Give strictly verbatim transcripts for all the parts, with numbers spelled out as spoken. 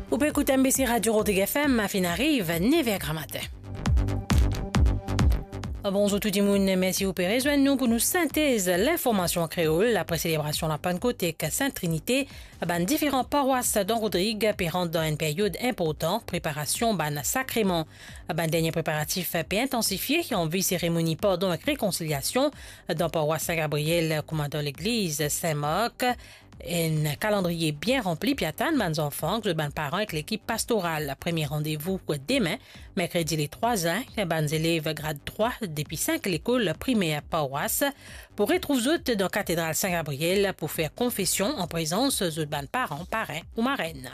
Ou pe ekout M B C Radio Rodrig F M, finn ariv nef er gramatin. Bonzour tou dimoun, mersi ou pe rezwenn nou pou nou sintez linformasion kreol. Apre selebrasion Lapannkot ek Sint Trinite, bann diferan parwas dan Rodrig pe rant dan enn period inportan preparasion bann sakreman. Bann dernie preparatif pe intansifie an vi seremoni pardon ek rekonsiliasion dan parwas Sin Gabriel, kouma dan legliz Sin Mark. Enn kalandriye bien ranpli pe atann bann zanfan ek zot bann paran ek lekip pastoral. Premie randevou demin, merkredi le trwa zin, bann zelev grad trwa depi sink lekol primer parwas pou retrouv zot dan Katedral Sin Gabriel pou fer konfesion an prezans zot bann paran, parenn ou marenn.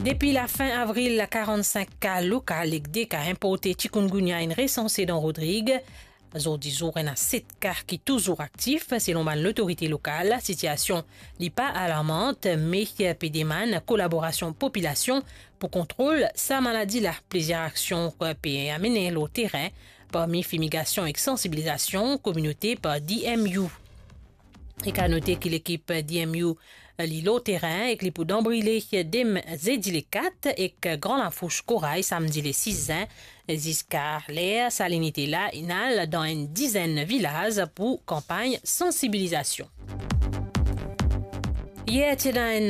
Depi lafin avril, karannsink ka lokal ek de ka inporte chikungunya inn resanse dan Rodrig. Zordi zour, ena set ka ki touzour aktif, selon bann lotorite lokal. Sitiasion li pa alarmant, me pe demann kolaborasion popilasion pou kontrol sa maladi la. Plizier aksion pe amene lor terin, parmi fimigasion ek sansibilizasion kominote par D M U. Ek a note ki lekip D M U li lor terin ek li pou dan brile demin zedi le kat ek Gran Lafous Koray samdi le sis zin. Ziska ler sa linite la inn al dan enn dizenn vilaz pou kanpagn sansibilizasion. Yer ti ena enn